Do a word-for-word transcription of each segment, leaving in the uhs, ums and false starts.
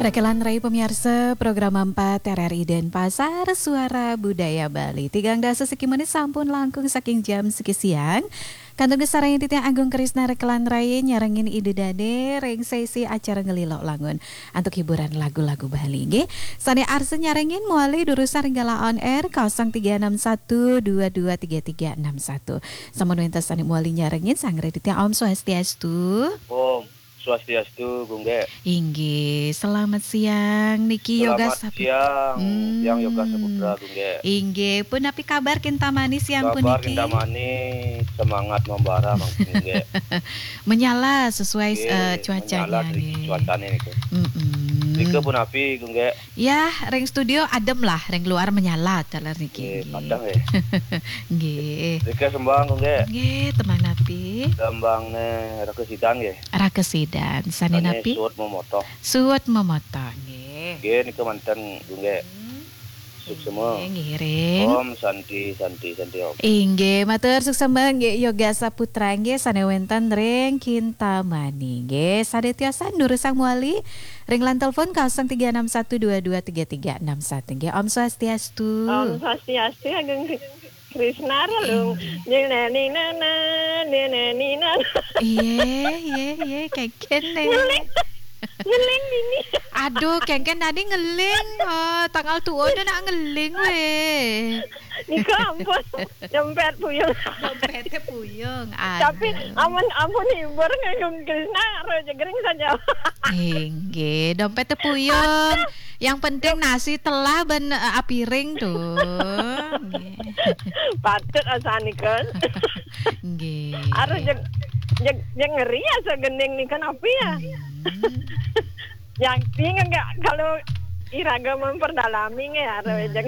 Rakelan rai pamiarsa program empat R R I Denpasar, Suara Budaya Bali. Tigang dasa siki menit sampun langkung saking jam siki siang. Kantun kasarengin titiang Agung Krisna rakelan rai nyarengin Ida Dane ring sesi acara Ngelilok Langun antuk hiburan lagu-lagu Bali nggih. Sane arsa nyarengin mawali durusang ring galah on air kosong tiga enam satu dua dua tiga tiga enam satu. Sampun wenten sane mawali nyarengin, sanggra titiang Om Swastiastu. Om Swastiastu, Gung Gek. Inggih, selamat siang niki Yoga Selamat Saputra. Siang, Hmm. Siang Yoga Saputra, Gung Gek. Inggih, punapi kabar kintamani siang Kabar puniki? Kintamani, semangat membara, Mang Gung Gek. Menyala sesuai, Nggih, eh, cuacanya menyala dari nggih. Cuacanya niku. Mm-mm. Nika punapi, Gung Gek? Ya, ring studio adem lah, ring luar menyala, taler niki, Nggih, nggih. Padang nggih. Nggih. Nika sembang, Gung Gek. Nggih, tembang napi? Sembangne Raka Sidan nggih. Raka Sidan, sane Sane napi? Suud Memotoh. Suud Memotoh, nggih. Nggih, nika manten, Gung Gek. Hmm. Suksema. Nggih, ngiring. Om Santi, Santi, Santi Om. Inggih, matur suksema nggih Yoga Saputra nggih sane wenten ring Kintamani nggih. Sane tiosan durusang mawali ring line telepon kosong tiga enam satu dua dua tiga tiga enam satu nggih. Om Swastiastu. Om Swastiastu, Agung Krisna, Relung. Inggih. Nyeneni nana, nyeneni nana. Iye, iye, iye, kengken deh. Ngeling, ngeling dini. Aduh, kengken tadi ngeling. Oh, tanggal tua udah nak ngeling weh. Nika ampun, dompet puyung. Dompetnya puyung. Tapi aduh. Ampun, ampun hibur nggih Agung Krisna, ro jegering saja. Inggih, dompetnya puyung. Yang penting nasi telah ben, eh, apiring tuh. Nggih. Patut asanika. Nggih. Harus jeg, jeg, jeg ngeri asa gending nika napi ya. Hmm. Yang ping enggak kalau iraga memperdalami nggih harus Hmm. Jeg.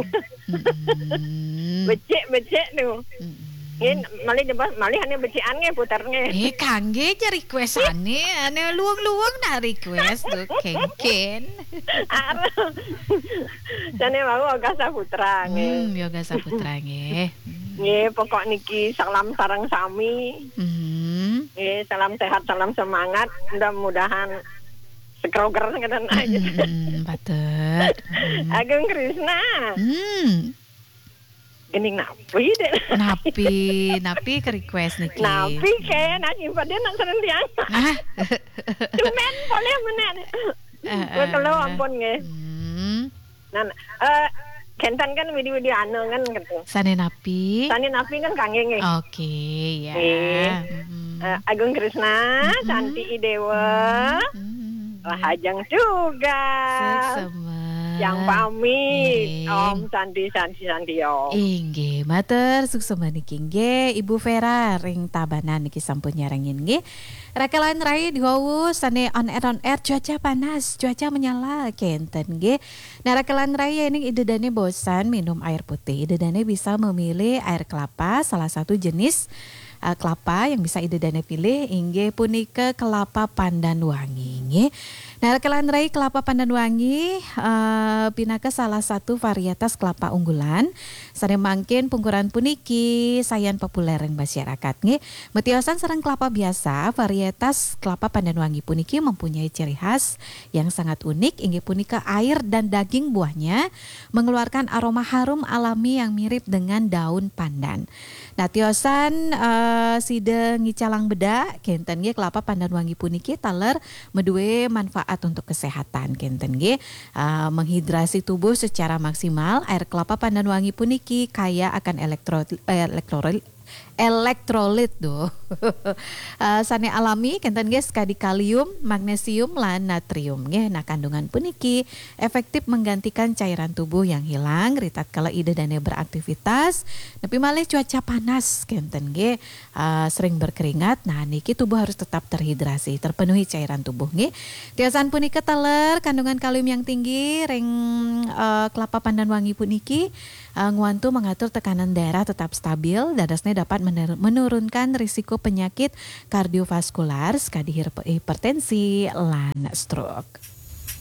Mm-mm. Becik-becik tuh. Mm-mm. Nggih, malih jebos, malih ane becikan nggih, puter nggih. Eh, kangge ja request ane, ane luwung-luwung nak request tuh, kengken. Aduh. Jane wau Yoga Saputra nggih. Hmm, Yoga Saputra nggih. Nggih, pokok niki salam sareng sami. Hmm. Nggih, salam sehat, salam semangat. Mudah-mudahan sekroger ngeten aja. Hmm, patut. Hmm. Agung Krisna. Hmm. Gending napi deh? Napi, napi ke request niki? Napi ke, nak simpen dia nak serentian. Ah. Cuman boleh meneh. Eh, eh. Betul ampun nggih. Hmm. Nah, eh, kenten kan widi-widi anu kan gitu. Sane napi? Sane napi kan kangge nggih. Oke, ya. Nggih. Mm-mm. Eh, Agung Krisna, Mm-mm. Santi Idewa, Mm-mm. Rahajeng Tugas. Suksema. Yang pamit, Nggih. Om Santi, Santi, Santi, Om. Inggih, matur suksema niki nggih, Ibu Vera ring Tabanan niki sampun nyarengin nggih. Rakelan rai diwawu sane on air, on air, cuaca panas, cuaca menyala, kenten nggih. Nah, rakelan rai, yening Ida Dane bosan minum air putih, Ida Dane bisa memilih air kelapa, salah satu jenis, eh, kelapa yang bisa Ida Dane pilih inggih punika kelapa pandan wangi, nggih. Nah, rakelan rai, kelapa pandan wangi, eh, pinaka salah satu varietas kelapa unggulan. Sane mangkin pungkuran puniki sayan populer ring masyarakat, nggih. Matiosan sareng kelapa biasa, varietas kelapa pandan wangi puniki mempunyai ciri khas yang sangat unik, inggih punika air dan daging buahnya mengeluarkan aroma harum alami yang mirip dengan daun pandan. Nah, tiosan, eh, sida ngicalang bedak, kenten nggih kelapa pandan wangi puniki taler madue manfaat untuk kesehatan, kenten nggih. Eh, menghidrasi tubuh secara maksimal, air kelapa pandan wangi puniki kaya akan elektro-, eh, elektrol-, elektrolit tuh. Eh, sane alami, kenten nggih, sekadi kalium, magnesium, lan natrium nggih. Nah, kandungan puniki efektif menggantikan cairan tubuh yang hilang ritatkala Ida Dane beraktivitas, nepi malih cuaca panas, kenten nggih, eh, sering berkeringat. Nah, niki tubuh harus tetap terhidrasi, terpenuhi cairan tubuh nggih. Tiosan punika taler kandungan kalium yang tinggi ring, eh, kelapa pandan wangi puniki, eh, ngwantu mengatur tekanan darah tetap stabil, dadosne dapat mener-, menurunkan risiko penyakit kardiovaskular, sekadi hirpe-, hipertensi, lan stroke.